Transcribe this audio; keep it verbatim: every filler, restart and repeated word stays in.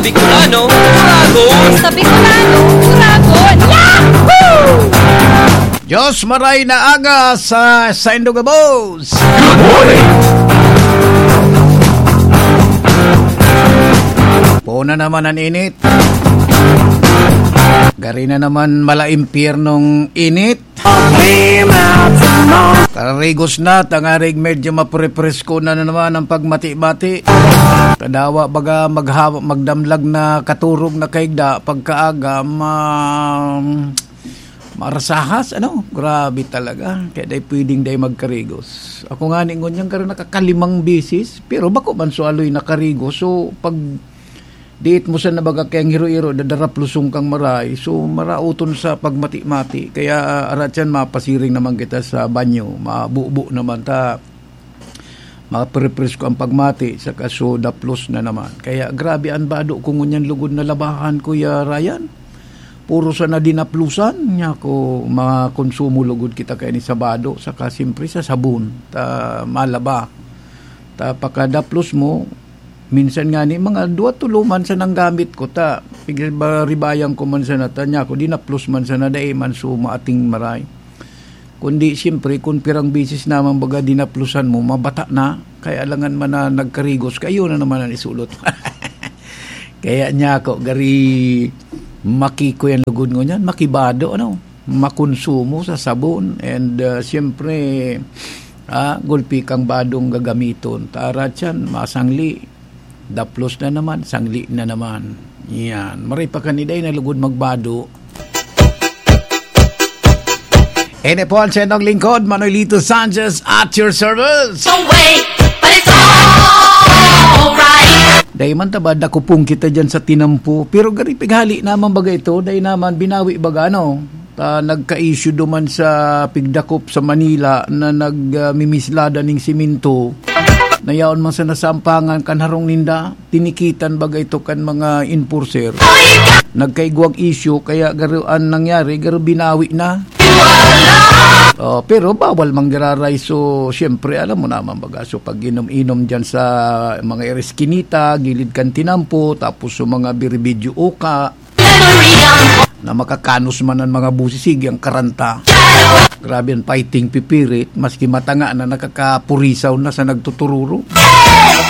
Bicolano, Uragon. Sa Bicolano, Uragon. Yahoo! Diyos, maray na aga sa saindong gabos. Good morning. Puna naman ang init. Gari na naman mala impyernong init. Karigos na, tangarig medyo maprepresko na, na naman ang pagmati-mati. Kadawa baga maghawa, magdamlag na katurog na kaigda, pagkaaga, ma-, marasahas, ano? Grabe talaga. Kaya dai pwedeng dai magkarigos. Ako nga ni ngunyan, karon nakakalimang bisis, pero bako man sualoy nakarigos. So, pag diit mo sa nabaga kayang hiro-hiro, dadarapluson kang maray. So, marauton sa pagmati-mati. Kaya, arat yan, mapasiring naman kita sa banyo. Mabubo naman ta. Maprepresko ang pagmati, saka so daplos na naman. Kaya grabe ang bado ko ngunyan lugod na labahan, Kuya Ryan. Puro sana dinaplusan, niya ko makonsumo lugod kita kaya ni sa bado, saka siyempre sa sabon, ta malaba. Ta pakadaplos mo, minsan nga ni mga duwa tulo man sa nanggamit ko, ta pigribayan ko man sana, ta niya ko dinaplos man sana, dai man suma ating maray. Kundi, siyempre, kung pirang bisis naman baga dinaplusan mo, mabata na, kaya alangan man na nagkarigos, kayo na naman ang isulot. Kaya niya ako, gari, makiko yan lugod ngunyan, makibado, ano, makonsumo sa sabon, and, ah, siyempre, ah, gulpi kang badong gagamiton. Tara tiyan, masangli, daplos na naman, sangli na naman. Yan. Maray pa kaniday na lugod magbado. Ini po ang sendong lingkod, Manolito Sanchez, at your service. Away, but it's alright. Dai man ta ba dakupon kita dyan sa tinampo, pero gari pighali naman baga ito, dai naman binawi baga, ano? Ta nagka-issue duman sa pigdakop sa Manila na nag, ah, mimislada ning simento. Nayaon man sa nasampangan kan harong ninda, tinikitan baga ito kan mga enforcer. Nagkaigwang issue, kaya garo an nangyari, garo binawi na. Oh, pero bawal manggiraray. So, siyempre, alam mo naman baga. So, pag inom-inom dyan sa mga ereskinita, gilid kan tinampo, tapos sa mga biribidyo uka, na makakanos man ang mga busis, sige ang karanta. Grabe ang fighting pipirit, maski matanga na nakakapurisaw na sa nagtutururo.